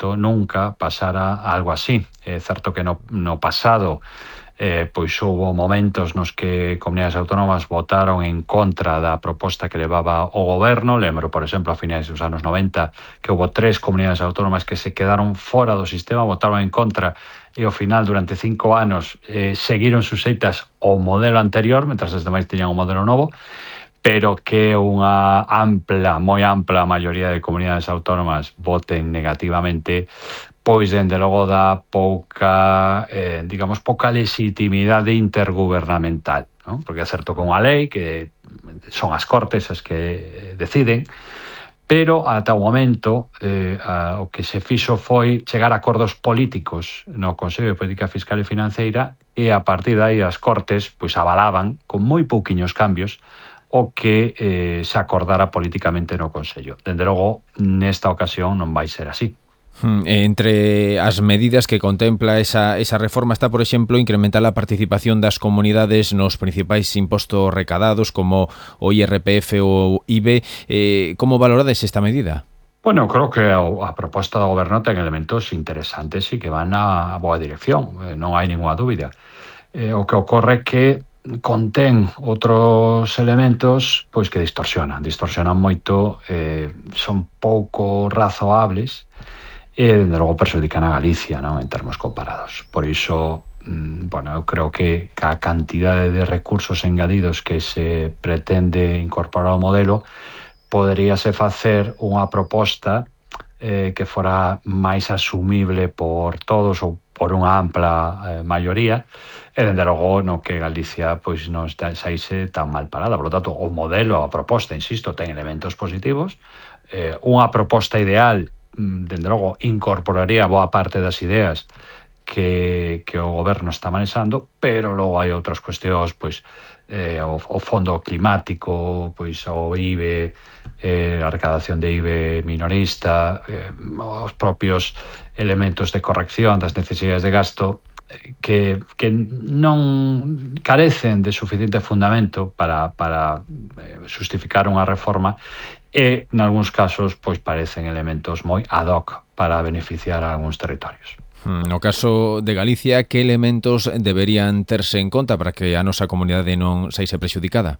momento nunca pasara algo así. É certo que no pasado pois houve momentos nos que comunidades autónomas votaron en contra da proposta que levaba o goberno. Lembro, por exemplo, a finais dos anos 90 que houve 3 comunidades autónomas que se quedaron fora do sistema, votaron en contra e ao final durante 5 anos seguiron suxeitas ao modelo anterior, mentras as demais tiñan un modelo novo, pero que unha moi ampla maioría de comunidades autónomas voten negativamente, pois dende logo dá pouca legitimidade intergubernamental, non? Porque é certo que unha lei que son as Cortes as que deciden, pero ata o momento o que se fixo foi chegar a acordos políticos no Consello de Política Fiscal e Financeira e a partir de aí as Cortes pois avalaban con moi pouquiños cambios o que se acordara políticamente no Consello. Dende logo, nesta ocasión non vai ser así. Entre as medidas que contempla esa reforma está, por exemplo, incrementar a participación das comunidades nos principais impostos recadados como o IRPF ou IBE. Como valorades esta medida? Bueno, creo que a proposta do goberno ten elementos interesantes e que van na boa dirección, non hai ninguna dúbida. O que ocorre é que contén outros elementos pois que distorsionan moito, son pouco razoables e, dende logo, perxudican a Galicia, non, en termos comparados. Por iso, eu creo que a cantidade de recursos engadidos que se pretende incorporar ao modelo poderíase facer unha proposta que fora máis asumible por todos ou por unha ampla maioría e, dende logo, no que Galicia pois non saíse tan mal parada. Por lo tanto, o modelo, a proposta, insisto, ten elementos positivos. Unha proposta ideal, dende logo, incorporaría boa parte das ideas que o goberno está manexando, pero logo hai outras cuestións, pois o fondo climático, pois o IBE, a recadación de IBE minorista, os propios elementos de corrección das necesidades de gasto que non carecen de suficiente fundamento para justificar unha reforma e, nalgúns casos, pois parecen elementos moi ad hoc para beneficiar a algúns territorios. No caso de Galicia, que elementos deberían terse en conta para que a nosa comunidade non saíse prexudicada?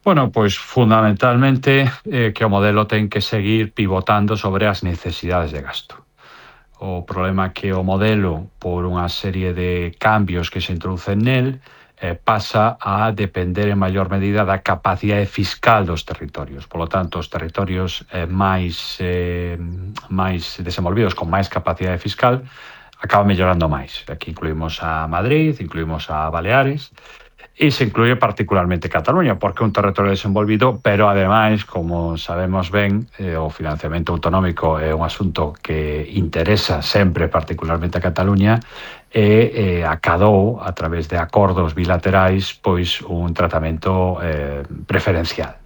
Bueno, pois fundamentalmente que o modelo ten que seguir pivotando sobre as necesidades de gasto. O problema é que o modelo, por unha serie de cambios que se introducen nel, pasa a depender en maior medida da capacidade fiscal dos territorios. Por lo tanto, os territorios máis desenvolvidos, con máis capacidade fiscal, acaban mellorando máis. Aquí incluímos a Madrid, incluímos a Baleares, e se incluye particularmente Cataluña, porque é un territorio desenvolvido, pero ademais, como sabemos ben, o financiamento autonómico é un asunto que interesa sempre particularmente a Cataluña e acadou, a través de acordos bilaterais, pois un tratamento preferencial.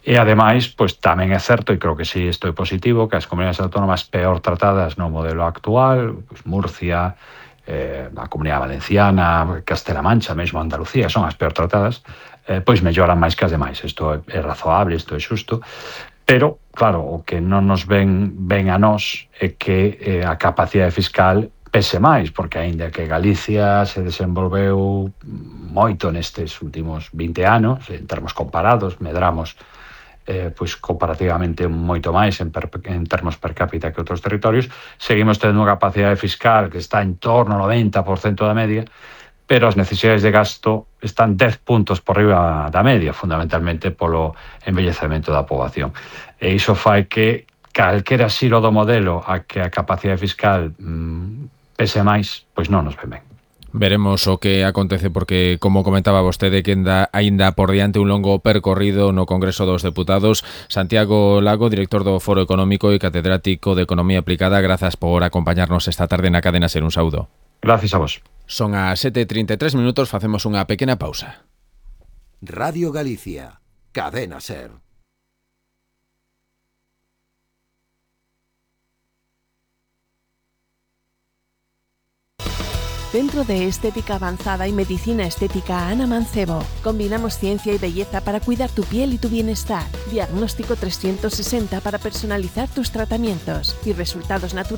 E ademais, pois tamén é certo, e creo que sí, isto é positivo, que as comunidades autónomas peor tratadas no modelo actual, pois Murcia, a Comunidade Valenciana, Castela Mancha, mesmo Andalucía, son as peor tratadas, pois melloran máis que as demais. Isto é razoable, isto é xusto, pero, claro, o que non nos ven a nós é que a capacidade fiscal pese máis, porque aínda que Galicia se desenvolveu moito nestes últimos 20 anos, en termos comparados, medramos pois comparativamente moito máis en termos per cápita que outros territorios, seguimos tendo unha capacidade fiscal que está en torno ao 90% da media, pero as necesidades de gasto están 10 puntos por riba da media, fundamentalmente polo envellecemento da poboación. E iso fai que calquera xiro do modelo a que a capacidade fiscal pese máis, pois non nos ven ben. Veremos o que acontece porque, como comentaba vostede, que aínda por diante un longo percorrido no Congreso dos Deputados. Santiago Lago, director do Foro Económico e catedrático de Economía Aplicada, grazas por acompañarnos esta tarde na Cadena Ser. Un saúdo. Gracias a vos. Son as 7:33, facemos unha pequena pausa. Radio Galicia, Cadena Ser. Centro de Estética Avanzada y Medicina Estética Ana Mancebo. Combinamos ciencia y belleza para cuidar tu piel y tu bienestar. Diagnóstico 360 para personalizar tus tratamientos y resultados naturales